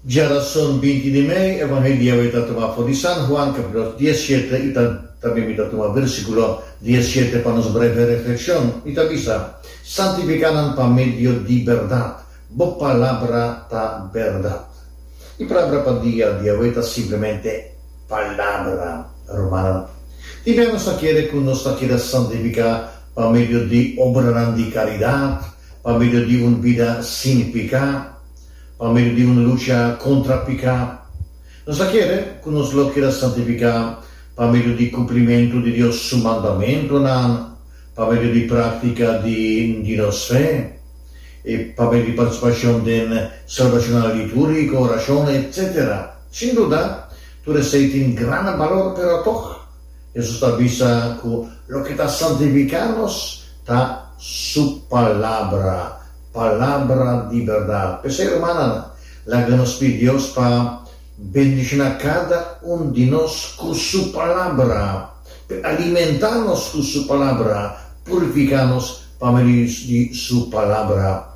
Djarason 20 di mei, Evangelio awe ta tuma for di San Juan capítulo 17 y ta tambe mi ta tuma versículo 17 pa nos breve reflexion. Y ta bisa, Santifica nan pa medio di berdad, bo palabra ta berdad. E palabra pa dia di awe ta simplemente palabra, rumannan. Tin bia nos ta kere ku nos ta keda santifiká pa medio di obranan di karidat, pa medio di un bida sin piká, pa medio di un lucha kontra piká. Nos ta kere ku nos lo keda santifiká pa medio di kumplimentu di Dios su mandamentunan, pa medio di práktika di di nos fe, i pa medio di partisipashon den selebrashonnan litúrgiko, orashon, etsetera. Sin duda, tur esei tin gran balor, pero tòg Hesus ta bisa ku loke ta santifiká nos ta su Palabra, Palabra di bèrdat. P'esei, rumannan, laga nos pidi Dios pa bendishoná kada un di nos ku su Palabra. P'e alimentá nos ku su Palabra, purifiká nos pa medio di su Palabra.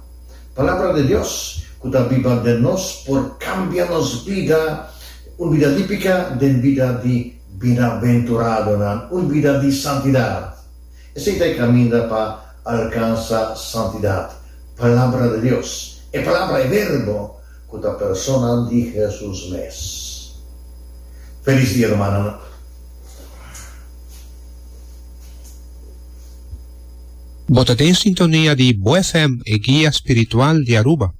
Palabra di Dios ku ta biba den nos por kambia nos bida, un bida di piká den bida di binaventuradonan, un bida di santidat. Esei ta e kaminda pa alkansa santidat, Palabra di Dios, e Palabra, e Verbo, ku ta persona di Hesus mes. Felis dia, rumannan. Bo ta den sintonia di Bo FM, e guia spiritual di Aruba.